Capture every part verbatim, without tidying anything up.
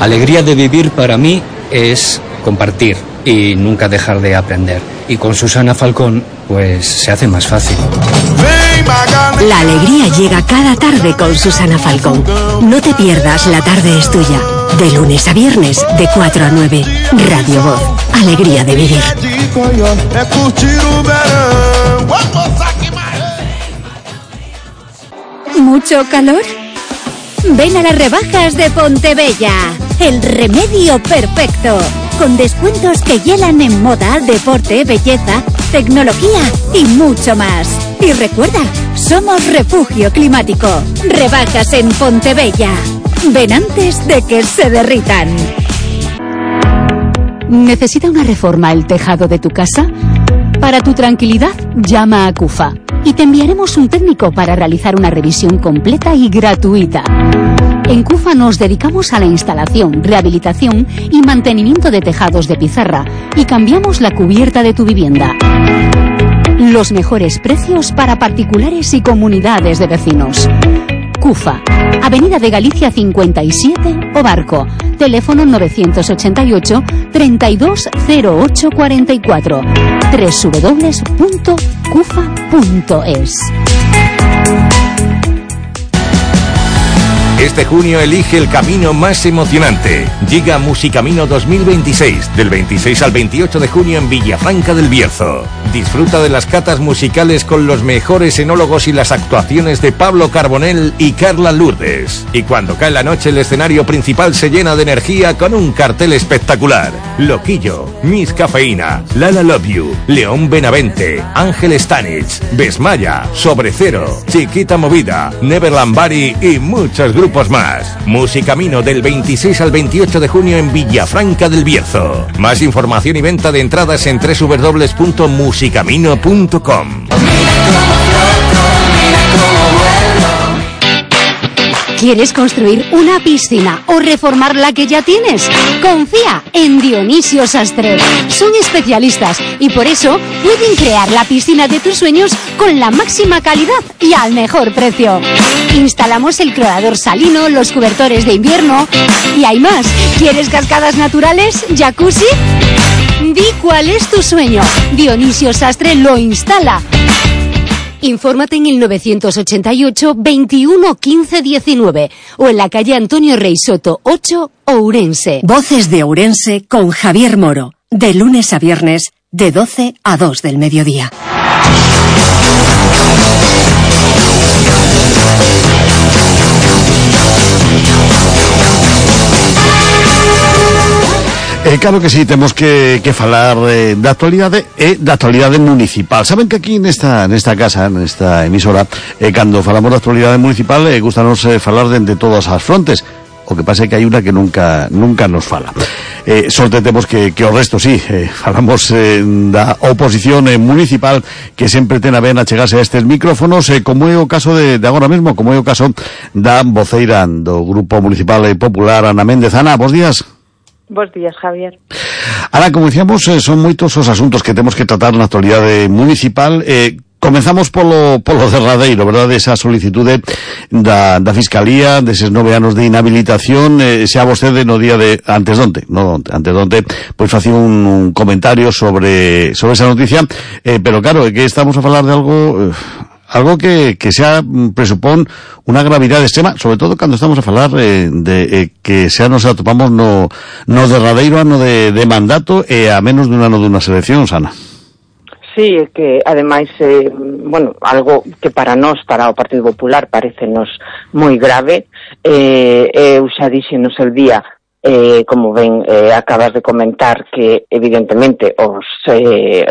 Alegría de vivir para mí es compartir y nunca dejar de aprender. Y con Susana Falcón, pues se hace más fácil. La alegría llega cada tarde con Susana Falcón. No te pierdas La Tarde es Tuya. De lunes a viernes, de cuatro a nueve. Radio Voz. Alegría de vivir. ¿Mucho calor? Ven a las rebajas de Pontebella. El remedio perfecto. Con descuentos que hielan en moda, deporte, belleza, tecnología y mucho más. Y recuerda, somos refugio climático. Rebajas en Pontebella. Ven antes de que se derritan. ¿Necesita una reforma el tejado de tu casa? Para tu tranquilidad, llama a CUFA y te enviaremos un técnico para realizar una revisión completa y gratuita. En CUFA nos dedicamos a la instalación, rehabilitación y mantenimiento de tejados de pizarra y cambiamos la cubierta de tu vivienda. Los mejores precios para particulares y comunidades de vecinos. CUFA, Avenida de Galicia cincuenta y siete, Obarco. Teléfono novecientos ochenta y ocho, treinta y dos cero ocho cuarenta y cuatro. doble u doble u doble u punto cufa punto es. Este junio elige el camino más emocionante. Llega Musicamino dos mil veintiséis, del veintiséis al veintiocho de junio en Villafranca del Bierzo. Disfruta de las catas musicales con los mejores enólogos y las actuaciones de Pablo Carbonell y Carla Lourdes. Y cuando cae la noche, el escenario principal se llena de energía con un cartel espectacular. Loquillo, Miss Cafeína, Lala Love You, León Benavente, Ángel Stanich, Besmaya, Sobre Cero, Chiquita Movida, Neverland Bari y muchos grupos más. Musicamino del veintiséis al veintiocho de junio en Villafranca del Bierzo. Más información y venta de entradas en doble u doble u doble u punto musicamino punto com. ¿Quieres construir una piscina o reformar la que ya tienes? Confía en Dionisio Sastre. Son especialistas y por eso pueden crear la piscina de tus sueños con la máxima calidad y al mejor precio. Instalamos el clorador salino, los cobertores de invierno y hay más. ¿Quieres cascadas naturales? ¿Jacuzzi? Di cuál es tu sueño. Dionisio Sastre lo instala. Infórmate en el novecientos ochenta y ocho, veintiuno, quince, diecinueve o en la calle Antonio Rey Soto ocho, Ourense. Voces de Ourense con Javier Moro. De lunes a viernes, de doce a dos del mediodía. Eh, claro que sí, temos que, que falar eh, da actualidade e da actualidade municipal. Saben que aquí nesta, nesta casa, nesta emisora, eh, cando falamos da actualidade municipal, eh, gustanos eh, falar de, de todas as frontes. O que pasa é que hai una que nunca nunca nos fala. Eh, sorte temos que, que o resto, sí, eh, falamos eh, da oposición eh, municipal que sempre ten a ben achegarse a estes micrófonos, eh, como é o caso de, de agora mesmo, como é o caso da voceira do Grupo Municipal e Popular, Ana Méndez. Ana, bos días. Bos días, Javier. Ahora, como decíamos, eh, son moitos os asuntos que temos que tratar na actualidade municipal. Eh, comenzamos polo, polo derradeiro, verdade? Esa solicitude da, da Fiscalía, deses nove anos de inhabilitación, eh, xa vostede no día de, antes donte, no, antes donte, pois facía un, un comentario sobre, sobre esa noticia, eh, pero claro, é que estamos a falar de algo... Eh, algo que, que xa presupón unha gravidade extrema, sobre todo cando estamos a falar eh, de eh, que xa nos atopamos no, no derradeiro ano de, de mandato e a menos dun ano dunhas eleccións, Ana. Sí, é que ademais eh, bueno, algo que para nós, para o Partido Popular, parecenos moi grave. Eh, eu xa dixenos el día, eh, como ben eh, acabas de comentar, que evidentemente os eh,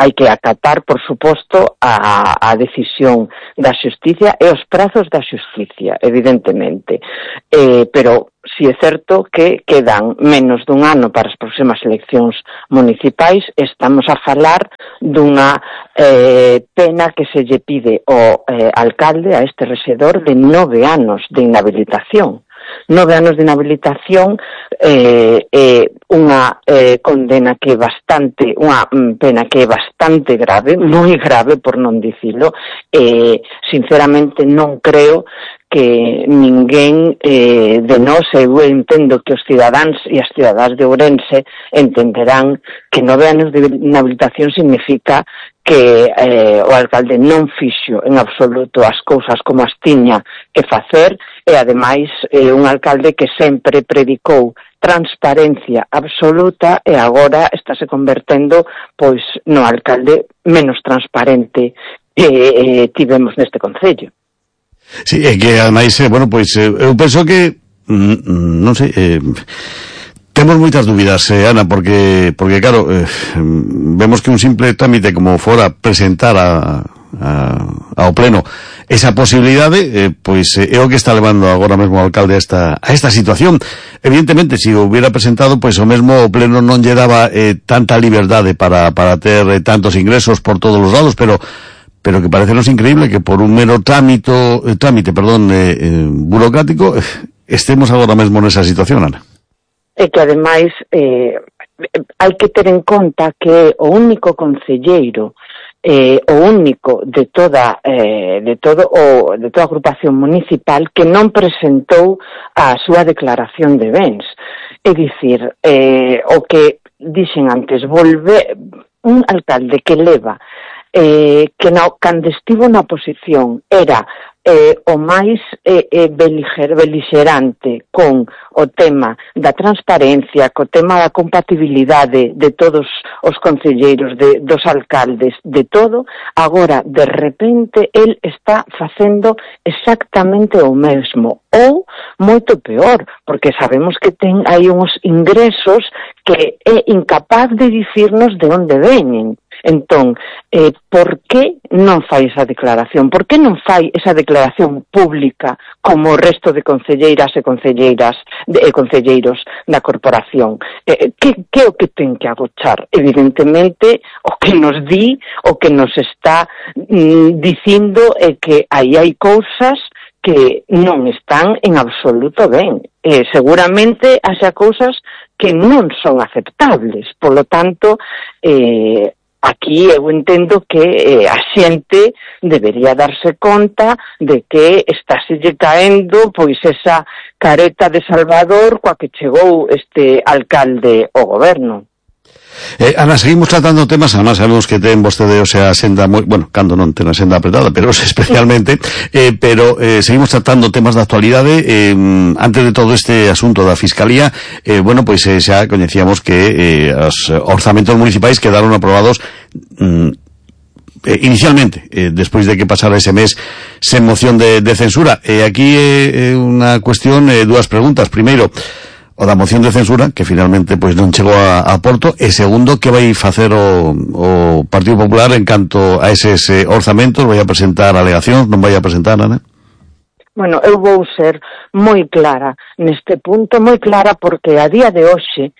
hai que acatar, por suposto, a, a decisión da xusticia e os prazos da xusticia, evidentemente. Eh, pero si é certo que quedan menos dun ano para as próximas eleccións municipais, estamos a falar dunha eh, pena que se lle pide ao eh, alcalde, a este rexedor, de nove anos de inhabilitación. Nove anos de inhabilitación, eh, eh, unha eh, condena que é bastante, unha pena que é bastante grave, moi grave por non dicilo, eh, sinceramente non creo que ninguén eh, de nós, eu entendo que os cidadáns e as cidadás de Ourense entenderán que nove anos de inhabilitación significa que eh, o alcalde non fixo en absoluto as cousas como as tiña que facer, e ademais eh, un alcalde que sempre predicou transparencia absoluta e agora estáse convertendo pois no alcalde menos transparente que eh, tivemos neste concello. Sí, é que ademais, eh, bueno, pois eh, eu penso que mm, non sei, eh, temos moitas dúbidas, eh, Ana, porque porque claro, eh, vemos que un simple trámite como fora presentar a, a ao pleno esa posibilidade, eh, pois eh, é o que está levando agora mesmo o alcalde a esta a esta situación. Evidentemente, se o hubiera presentado, pois o mesmo o pleno non lle daba eh, tanta liberdade para para ter eh, tantos ingresos por todos os lados, pero pero que parecenos increíble que por un mero trámite, eh, trámite, perdón, eh, eh, burocrático, eh, estemos agora mesmo nesa situación, Ana. E que ademais eh, hai que ter en conta que o único concelleiro, eh, o único de toda eh, de todo o de toda a agrupación municipal que non presentou a súa declaración de bens. É dicir, eh, o que dixen antes, volve un alcalde que leva Eh, que no, cando estivo na oposición era eh, o máis eh, eh, beliger, beligerante con o tema da transparencia, co tema da compatibilidade de todos os concelleiros, de, dos alcaldes, de todo, agora, de repente, el está facendo exactamente o mesmo, ou moito peor, porque sabemos que ten aí uns ingresos que é incapaz de dicirnos de onde veñen. Entón, eh, por que non fai esa declaración? Por que non fai esa declaración pública como o resto de concelleiras e concelleiras de, e concelleiros da corporación? Eh, que, que é o que ten que agochar? Evidentemente, o que nos di, o que nos está mm, dicindo é que aí hai cousas que non están en absoluto ben. Eh, seguramente haxa cousas que non son aceptables. Por lo tanto, eh, aquí eu entendo que eh, a xente debería darse conta de que estáse caendo pois esa careta de Salvador coa que chegou este alcalde ao goberno. Eh, Ana, seguimos tratando temas, además sabemos que ten vostede, o sea, a senda moi, bueno, cando non ten a senda apretada, pero especialmente, eh, pero eh, seguimos tratando temas de actualidade. Eh, antes de todo este asunto da Fiscalía, eh, bueno, pois pues, eh, xa coñecíamos que eh, os orzamentos municipais quedaron aprobados mm, eh, inicialmente, eh, despois de que pasara ese mes sen moción de, de censura. E eh, aquí é eh, unha cuestión, eh, dúas preguntas. Primeiro, o da moción de censura, que finalmente pois non chegou a, a porto, e segundo, que vai facer o, o Partido Popular en canto a eses eh, orzamentos? Vai a presentar alegacións, non vai a presentar, Ana? Bueno, eu vou ser moi clara neste punto, moi clara, porque a día de hoxe,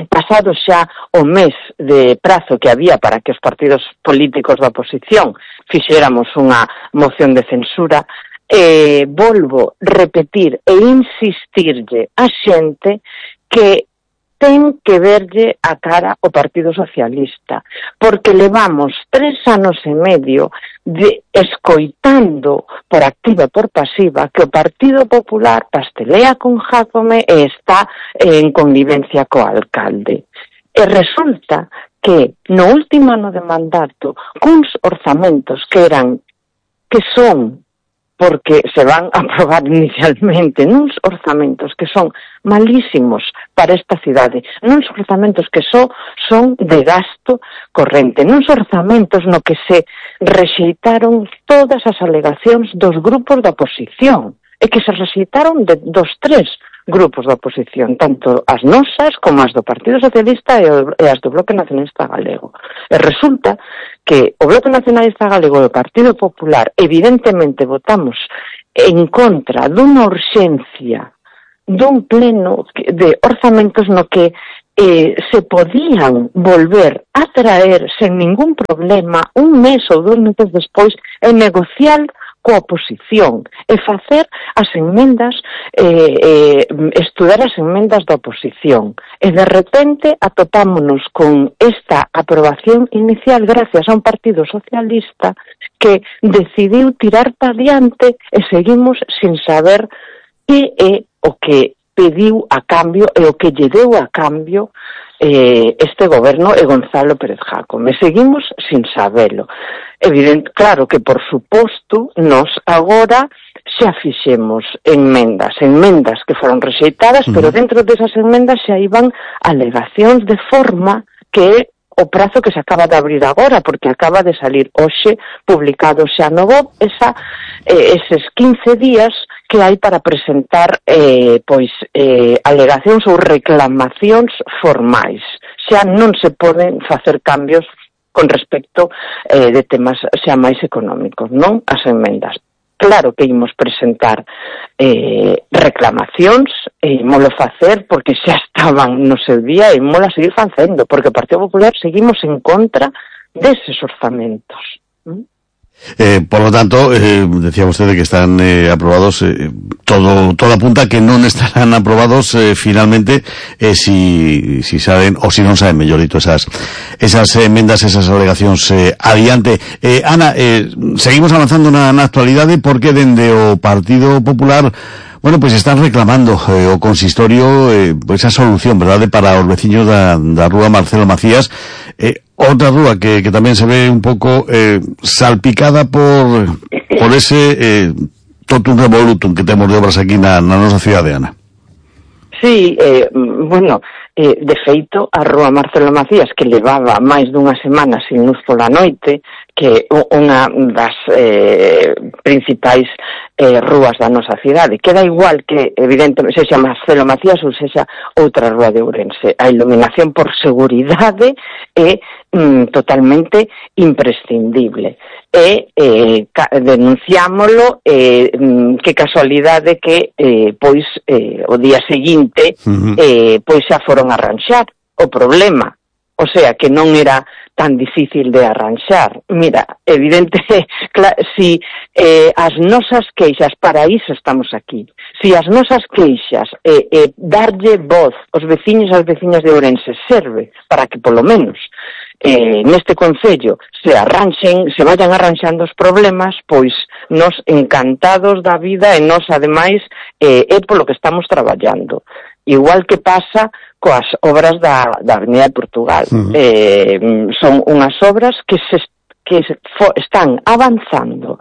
pasado xa o mes de prazo que había para que os partidos políticos da oposición fixéramos unha moción de censura, Eh, volvo repetir e insistirlle a xente que ten que verlle a cara o Partido Socialista, porque levamos tres anos e medio de escoitando por activa e por pasiva que o Partido Popular pastelea con Jácome e está en connivencia co alcalde. E resulta que no último ano de mandato, cuns orzamentos que eran, que son porque se van a aprobar inicialmente nuns orzamentos que son malísimos para esta cidade, nuns orzamentos que só son de gasto corrente, nuns orzamentos no que se rexeitaron todas as alegacións dos grupos da oposición, e que se rexeitaron de, dos tres grupos da oposición, tanto as nosas como as do Partido Socialista e, o, e as do Bloque Nacionalista Galego. E resulta que o Bloque Nacionalista Galego e o Partido Popular evidentemente votamos en contra dunha urxencia dun pleno de orzamentos no que eh, se podían volver a traer sen ningún problema un mes ou dos meses despois e negociar coa oposición e facer as enmendas, eh, eh, estudar as enmendas da oposición. E de repente atopámonos con esta aprobación inicial gracias a un partido socialista que decidiu tirar para diante e seguimos sin saber que é o que pediu a cambio e o que lle deu a cambio eh, este goberno e Gonzalo Pérez Jácome. Seguimos sin sabelo. Evidente, claro que, por suposto, nos agora xa fixemos enmendas, enmendas que foron rexeitadas, uh-huh. pero dentro desas enmendas xa iban alegacións de forma que é o prazo que se acaba de abrir agora, porque acaba de salir hoxe publicado xa no B O B esa, eh, eses quince días que hai para presentar eh, pois eh, alegacións ou reclamacións formais. Xa non se poden facer cambios con respecto eh, de temas xa máis económicos, non? As enmendas. Claro que imos presentar eh, reclamacións, e imolo facer porque xa estaban no seu día e imolo a seguir facendo, porque o Partido Popular seguimos en contra deses orzamentos. ¿Mm? Eh, por lo tanto, eh, decía usted que están eh, aprobados, eh, todo, todo apunta que non estarán aprobados eh, finalmente eh, si, si saben, o si non saben, mellor dito, esas, esas enmendas, esas alegacións eh, adiante. Eh, Ana, eh, seguimos avanzando na, na actualidade porque dende o Partido Popular, bueno, pois pues están reclamando eh, o consistorio eh, pues esa solución, verdade, para os veciños da, da rúa Marcelo Macías, eh, outra rúa que, que tamén se ve un pouco eh, salpicada por por ese eh, totum revolutum que temos de obras aquí na, na nosa cidade, Ana. Sí, eh, bueno, eh, de feito, a rúa Marcelo Macías, que levaba máis dunha semana sin luz pola noite, que unha das eh, principais eh, rúas da nosa cidade. Queda igual que, evidentemente, sexa Marcelo Macías ou sexa outra rúa de Ourense. A iluminación por seguridade é mm, totalmente imprescindible. E eh, denunciámolo, eh, que casualidade que eh, pois eh, o día seguinte uh-huh. eh, pois xa foron a arranxar o problema. O sea, que non era tan difícil de arranxar. Mira, evidente, claro, si eh, as nosas queixas, para iso estamos aquí, si as nosas queixas, eh, eh, darlle voz aos veciños e ás veciñas de Ourense serve para que, polo menos, eh, neste concello se arranxen, se vayan arranxando os problemas, pois nos encantados da vida e nos, ademais, eh, é polo que estamos traballando. Igual que pasa coas obras da, da Avenida de Portugal. Uh-huh. Eh, son unhas obras que se que se fo, están avanzando,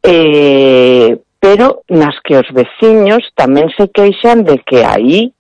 eh, pero nas que os veciños tamén se queixan de que aí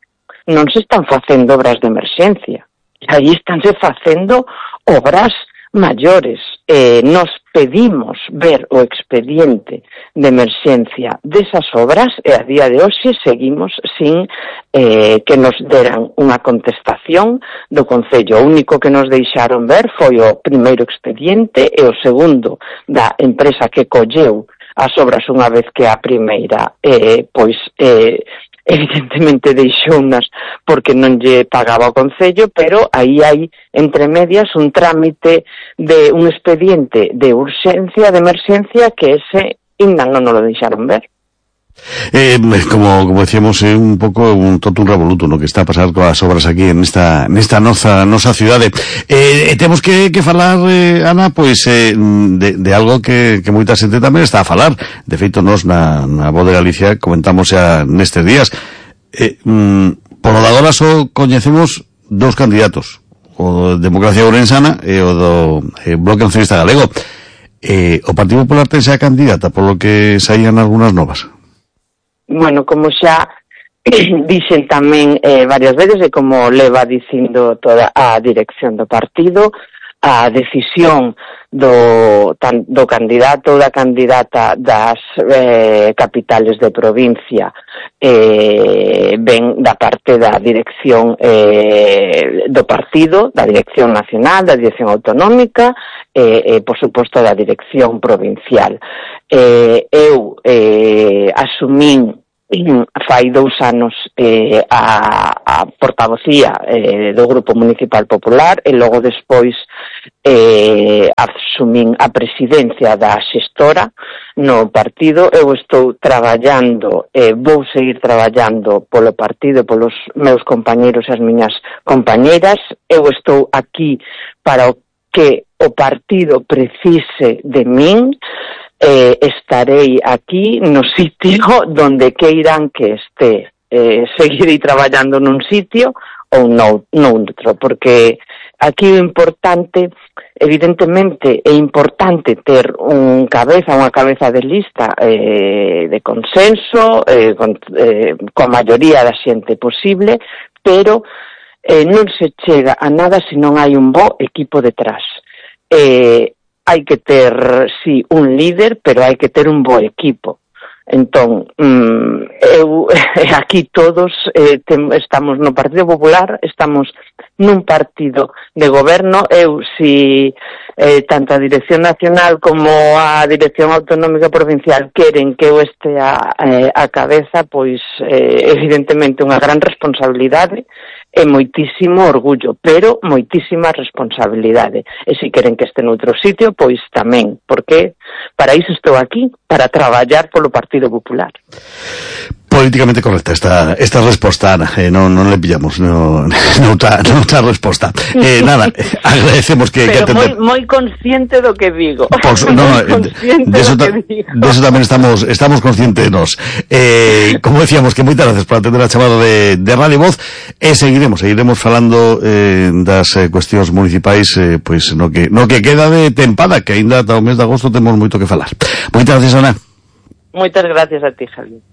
non se están facendo obras de emerxencia. Aí estánse facendo obras maiores. Eh, nos pedimos ver o expediente de emerxencia desas obras e a día de hoxe seguimos sin eh, que nos deran unha contestación do Concello. O único que nos deixaron ver foi o primeiro expediente e o segundo da empresa que colleu as obras unha vez que a primeira eh, pois eh, evidentemente deixounas porque non lle pagaba o Concello, pero aí hai entre medias un trámite de un expediente de urxencia, de emerxencia, que ese ainda non nos lo deixaron ver. Eh, como, como decíamos, é eh, un pouco un totum revolutum, no que está a pasar coas obras aquí en esta, nesta nosa, nosa cidade. Eh, temos que, que falar, eh, Ana, pois, eh, de, de algo que, que moita xente tamén está a falar. De feito, nos na, na Voz de Galicia comentamos xa nestes días. Eh, mm, por lo de agora só coñecemos dous candidatos, o de Democracia Ourensana e o do eh, Bloque Nacionalista Galego. Eh, o Partido Popular ten xa candidata, polo que saían algunhas novas. Bueno, como xa dixen tamén eh, varias veces e como leva dicindo toda a dirección do partido, a decisión do, tan, do candidato ou da candidata das eh, capitales de provincia eh, ven da parte da dirección eh, do partido, da dirección nacional, da dirección autonómica e, eh, por suposto, da dirección provincial. Eh, eu eh, asumín fai dous anos eh, a, a portavocía eh, do Grupo Municipal Popular e logo despois eh, asumín a presidencia da xestora no partido. Eu estou traballando, eh, vou seguir traballando polo partido, polos meus compañeros e as miñas compañeras. Eu estou aquí para o que o partido precise de min. Eh, estarei aquí no sitio donde queiran que este. Eh, seguirei traballando nun sitio ou no, noutro, porque aquí o importante, evidentemente, é importante ter un cabeza, unha cabeza de lista eh, de consenso, eh, con, eh, coa maioría da xente posible, pero eh, non se chega a nada se non hai un bo equipo detrás. Eh, hai que ter, sí, un líder, pero hai que ter un bo equipo. Entón, mm, eu aquí todos eh, tem, estamos no Partido Popular, estamos nun partido de goberno. Eu, si eh, tanto a Dirección Nacional como a Dirección Autonómica Provincial queren que eu este a, eh, a cabeza, pois eh, evidentemente unha gran responsabilidade e moitísimo orgullo, pero moitísima responsabilidade. E se queren que este noutro sitio, pois tamén, porque para iso estou aquí, para traballar polo Partido Popular. Políticamente correcta esta esta resposta, Ana. Eh, non, non le pillamos no, noutra, noutra resposta. Eh, nada, agradecemos que, pero que atender. moi, moi consciente do que digo. Pues, no, de eso, de eso tamén estamos estamos conscientes nos. Eh, como decíamos, que moitas gracias por atender a chamada de, de Radio Voz, e seguiremos, seguiremos falando eh, das eh, cuestións municipais, eh, pois no que no que queda de tempada, que aínda ata o mes de agosto temos moito que falar. Moitas gracias, Ana. Moitas gracias a ti, Javier.